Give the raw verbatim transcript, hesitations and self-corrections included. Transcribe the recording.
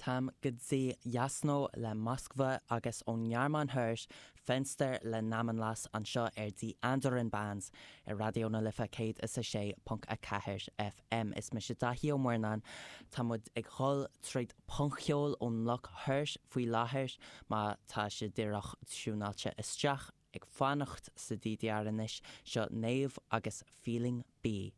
Táim go dtí Yasno le Moskva agus ón nGearmáin Thoir Fenster le Namenlos anseo ar Die Anderen Bands ar Raidió na Life céad is a sé ponc a ceathair FM. Is mise Daithí Ó Murnáin Tá muid ag dul tríd punc-cheol ón mbloc thoir faoi láthair má tá sibh díreach tiúnáilte isteach ag fanacht sa DDR anois seo Naomh agus Feeling B.